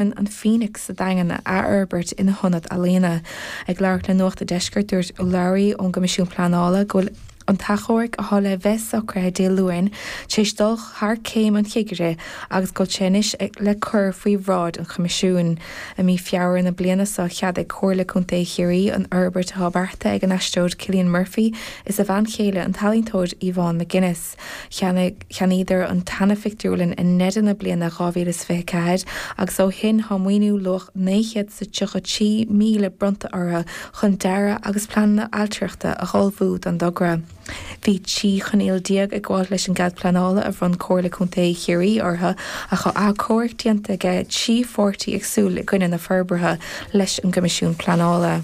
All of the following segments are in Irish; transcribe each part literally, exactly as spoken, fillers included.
an Phoenix sa Daingean a athfhorbairt ina hionad ealaíona. Ag labhairt le Nuacht an Deiscirt dúirt urlabhraí ón gCoimisiún Pleanála go bhfuil an t-achomharc atá le bheith socraithe Dé Luain tar éis dul thar céim an chigire agus go bhfuil sé anois le cur faoi bhráid an Choimisiúin. I mí Feabhra na bliana seo cheadaigh Comhairle Contae Chiarraí an fhorbairt atá beartaithe ag an aisteoir Cillian Murphy is a bhean chéile an t-ealaíontóir Yvonne McGuinness. Cheannaíodar an tseana-phictiúrlann i ndeireadh na bliana dhá mhíle is fiche ceathair agus ó shin tá maoiniú luach naoi chéad is tríocha trí míle bronnta orthu chun dearadh agus pleananna ailtireachta a ullmhú don dtogra. Bhí trí choinníoll déag ag gabháil leis an gcead pleanála a bhronn Comhairle Contae Chiarraí orthu ach tá achomharc déanta ag trí pháirtí éagsúil i gcoinne na forbartha leis an gCoimisiún Pleanála.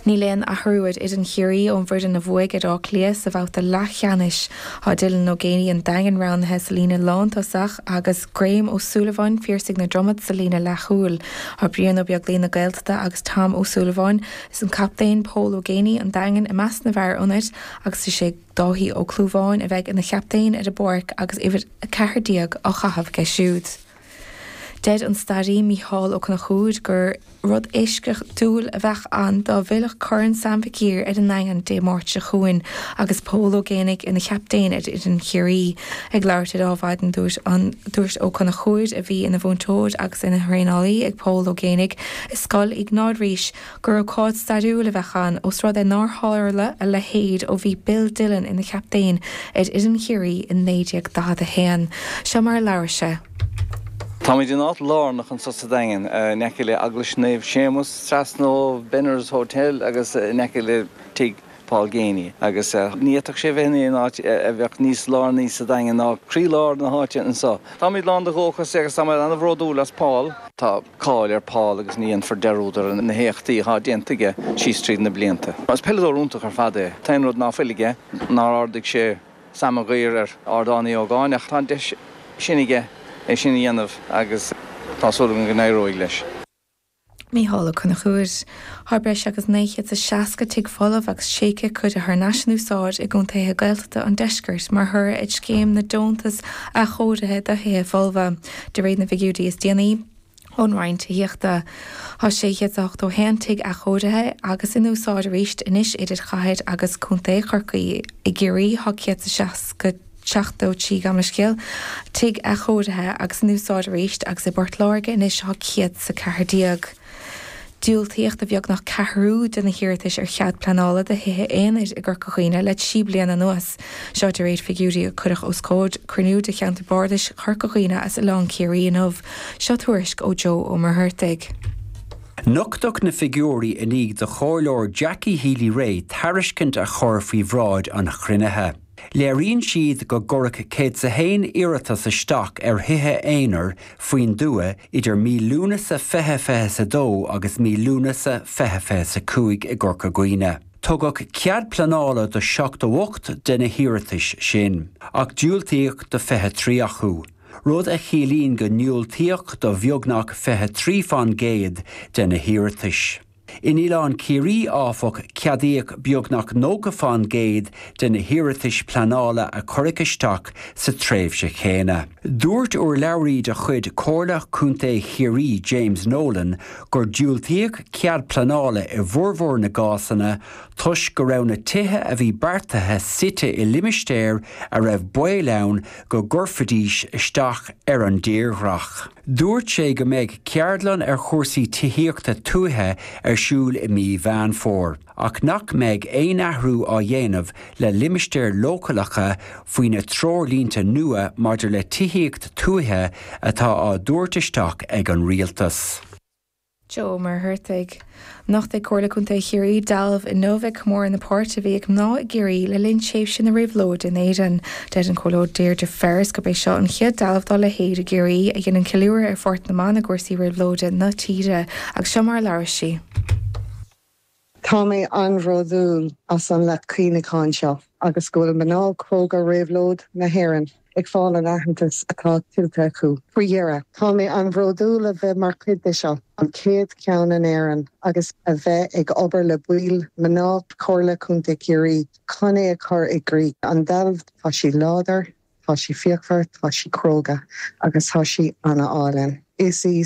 Níl aon athrú ar fhoireann Chiarraí ón bhfoireann a bhuaigh ar Áth Cliath sa bhabhta leathcheannais. Tá Dylan Ó Géibheannaigh an Daingin roghnaithe sa líne lántosach agus Graham Ó Súilleabháin, Phiarsaigh na Dromad sa líne leathchúil. Tá Brian Ó Beaglaoich na Gaeltachta agus Tom Ó Súilleabháin is an captaen Pól Ó Géibheannaigh an Daingean i measc na bhfear ionaid agus is é Dáithí Ó Clúmháin a bheidh ina chaptaen ar an bpáirc agus uimhir a ceathair déag á chaitheamh aige siúd. Deir an staraí Mícheál Ó Conchúir gur rud eisceachtúil a bheadh ann dá bhfillfeadh Corn Sam Mhic Uidhir ar an nDaingean Dé Máirt seo chugainn agus Pól Ó Géibheannaigh ina chaptaen ar fhoireann Chiarraí. Ag labhairt ar Adhmhaidin dúirt an dúirt Ó Conchúir, a bhí ina mhúinteoir agus ina thraenálaí ag Pól Ó Géibheannaigh i Scoil Iognáid Rís, gur ócáid stairiúil a bheadh ann ós rud é nár tharla a leithéid ó bhí Bill Dillon ina chaptaen ar fhoireann Chiarraí in naoi déag daichead a haon. Seo mar a labhair sé. Táimid in áit lárnach anseo sa Daingean, in aice le Eaglais Naomh Séamus, trasna ó Benner's Hotel agus in aice le tigh Paul Geaney. Agus ní fhéadfadh sé bheith in aon áit a bheadh níos lárnaí sa Daingean ná croílár na háite anseo. Táimid lán de dhóchas agus táimid an-bhródúil as Paul. Tá cáil ar Paul agus ní dhéanfar dearúd ar na héachtaí atá déanta aige síos tríd na blianta. Is peileadóir iontach ar fad é. T-aon rud ná fuil aige nár ardaigh sé Sam Mag Uidhir ar Ardán Uí Ógáin ach tá an deis sin aige é sin a dhéanamh agus tá súil agam go n-éireoidh leis. Mícheál Ó Conchúir. Tá breis agus naoi chéad is seasca tigh folamh agus tréigthe curtha thar n-ais in úsáid i gcontaetha Gaeltachta an deiscirt mar thoradh ar scéim na deontas athchóirithe do thithe folmha, de réir na bhfigiúirí is déanaí. Ón Roinn Tithíochta. Tá sé chéad is ochtó a haon tigh athchóirithe agus in úsáid arís anois idir chathair agus contae Chorcaí. I gCiarraí tá céad is seasca, seachtó trí, gabh mo leithscéal, tigh athchóirithe agus in úsáid arís agus i bPort Láirge anois tá céad is a ceathair déag. Diúltaíodh do bheagnach ceathrú de na hiarratais ar chead pleanála do thithe aonair i gCorca Dhuibhne le trí bliana anuas. Seo de réir figiúirí a cuireadh os comhair cruinniú de Cheantar Bardais Chorca Dhuibhne as Oileán Ciarraí inniu. Seo tuairisc ó Joe Ó Muircheartaigh. Nochtadh na figiúirí i ndiaidh do Chomhairleoir Jackie Healy-Rae tairiscint a chur faoi bhráid an chruinnithe. Léiríonn siad go gcuireadh céad is a haon iarratas isteach ar thithe aonair faoin dtuath idir mí Lúnasa fiche fiche a dó agus mí Lúnasa fiche fiche a cúig i gCorca Dhuibhne. Tugadh cead pleanála do seachtó ocht de na hiarratais sin, ach diúltaíodh do fiche trí acu, rud a chiallaíonn go ndiúltaíodh do bheagnach fiche trí faoin gcéad de na hiarratais. In Oileán Ciarraí, áfach, ceadaíodh beagnach nócha faoin gcéad de na hiarratais pleanála a cuireadh isteach sa tréimhse chéanna. Dúirt urlabhraí de chuid Chomhairle Contae Chiarraí, James Nolan, gur diúltaíodh cead pleanála i bhformhór na gcásanna toisc go raibh na tithe a bhí beartaithe suite i limistéir a raibh baol ann go gcuirfidís isteach ar an dtírdhreach. Dúirt sé go mbeidh ceardlann ar chúrsaí tithíochta tuaithe ar siúl i mí Mheán Fómhair, ach nach mbeidh aon athrú á dhéanamh le limistéir leochaileacha faoi na treoirlínte nua maidir le tithíocht tuaithe atá á dtabhairt isteach ag an rialtas. Joe Ó Muircheartaigh. Nochtfaidh Comhairle Contae Chiarraí dealbh inniu ag comóradh na páirte a bhí ag mná i gCiarraí le linn tréimhse na Réabhlóide in Éirinn. Deir an Comhairleoir Deirdre Ferris gurb é seo an chéad dealbh dá leithéid i gCiarraí a dhéanann ceiliúradh ar pháirt na mban i gcúrsaí réabhlóide na tíre. Agus seo mar a labhair sí. Tá mé an-bhródúil as an leac cuimhneacháin seo agus go bhfuil mná cróga Réabhlóid na hÉireann ag fáil an aitheantas atá tuillte acu. Faoi dheireadh, tá mé an-bhródúil a bheith mar chuid de seo, an chéad cheann in Éirinn, agus a bheith ag obair le baill mná Chomhairle Contae Chiarraí chun é a chur i gcrích. An dealbh, tá sí láidir, tá sí fíochmhar, tá sí cróga agus tá sí an-álainn. Is í